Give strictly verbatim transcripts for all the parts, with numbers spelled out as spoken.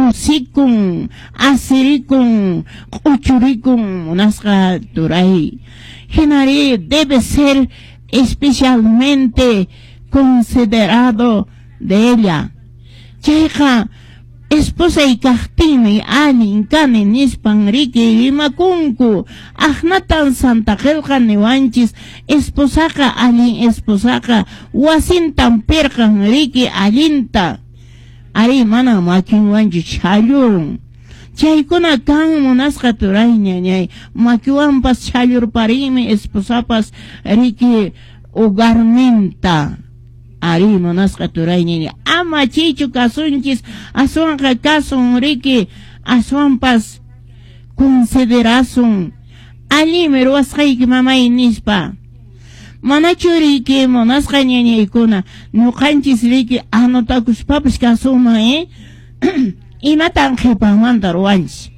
Kusikun, asirikun, q'uchurikun munasqa turay. Hinari debe ser especialmente considerado de ella. Chayqa esposay kaqtinmi allin kani nispan riki rimakunku. Aqnatan Santa Qillqa niwanchis esposaqa allin esposaqa wasintan pirqan riki allinta. Ari mana makinwanchu chhallurun. Chaykuna kan munasqa turay ñañay makiwanpas chhallurparinmi esposapas riki hogarninta. Ari munasqa turay ñañay ama chaychu kasunchis aswanqa kasun riki aswanpas considerasun allinmi ruwasqayki mamay nispa. Manachu riki munasqa ñañaykuna ñuqanchis riki anotakuspapas kasunman eh imatan qhipanmanta ruwanchis.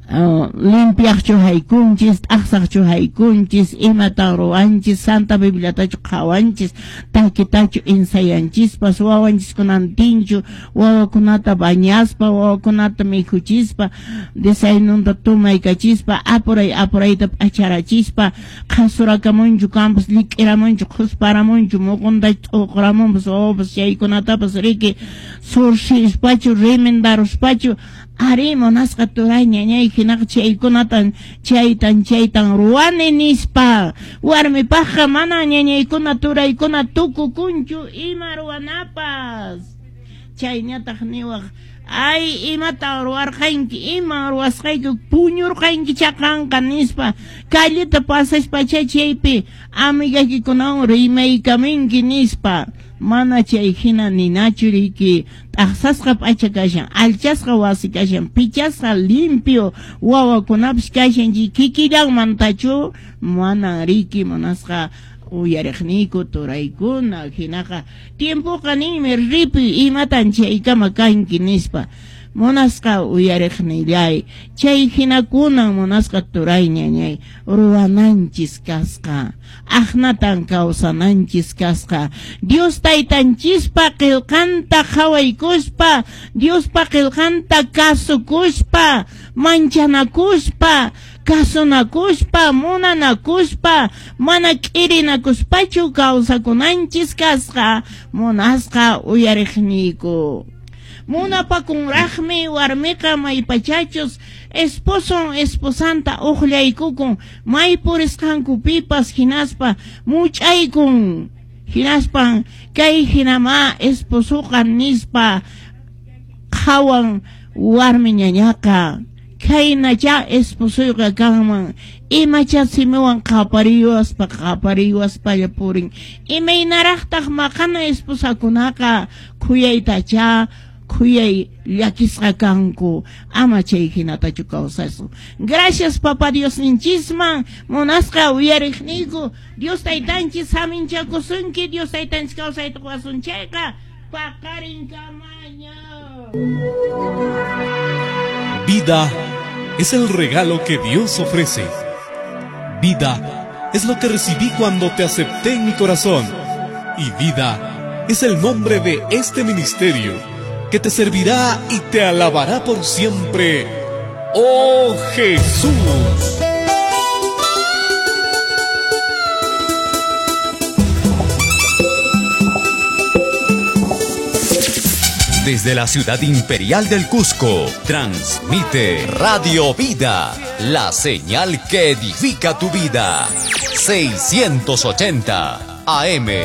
Uh, limpiaqchu haykunchis, t'aqsaqchu haykunchis, imatan ruwanchis, Santa Bibliatachu qhawanchis, takitachu ensayanchispas, wawanchiskunantinchu, wawakunata bañaspa, wawakunata mikhuchispa, desayununta tumaykachispa, apuray apurayta p'acharachispa, qhasurakamunchu kampas, lik'iramunchu, qhusparamunchu, muquntachu t'uqramunpas, wawapas chaykunatapas riki surxispachu, remendaruspachu. Ari munasqa turay ñañay hinaqa chaykunatan chaytan chaytan ruwani nispa. Warmipaqqa mana ñañaykuna turaykuna tukukunchu ima ruwanapas. Chayñataq niwaq ay imatan ruwarqanki, ima ruwasqayki puñurqanki chaqanqa nispa. Calleta pasaspa chaypi amigaykikunawan rimaykaminki nispa. Mana chay hina ninachu riki t'aqsasqa p'acha kashan, alchasqa wasi kashan, pichasqa limpio wawakunapas kashan kikillanmantachu mana riki munasqa uyariqniyku turaykuna. Hinaqa tiempoqa ninmi ripi imatan chaykama kanki nispa. Munasqa uyariqnillay chay hinakunan munasqa turay ñañay ruwananchis kasqa, aqnatan kawsananchis kasqa. Dios taytanchispa qillqanta qhawaykuspa, Diospa qillqanta kasukuspa, manchanakuspa, kasunakuspa, munanakuspa, mana k'irinakuspachu kawsakunanchis kasqa munasqa uyariqniyku. Munapakunraqmi warmiqa maypachachus esposon esposanta uqllaykukun may purisqankupipas hinaspa much'aykun hinaspan kay hinama esposuqa nispa qhawan warmi ñañaqa kaynacha esposuyqa kanman imacha simiwan qapariwaspa qapariwaspalla purin imaynaraqtaq maqana esposakunaqa khuyaytacha khuyay llakisqa kanku ama chay hinatachu kawsasun. Gracias Papa Dios ninchisman munasqa uyariqniyku Dios taytanchis haminchakusunki Dios taytanchis kawsayta quwasun chayqa paqarinkamaña. Vida es el regalo que Dios ofrece. Vida es lo que recibí cuando te acepté en mi corazón. Y vida es el nombre de este ministerio que te servirá y te alabará por siempre. ¡Oh Jesús! Desde la ciudad imperial del Cusco, transmite Radio Vida, la señal que edifica tu vida. seiscientos ochenta A M.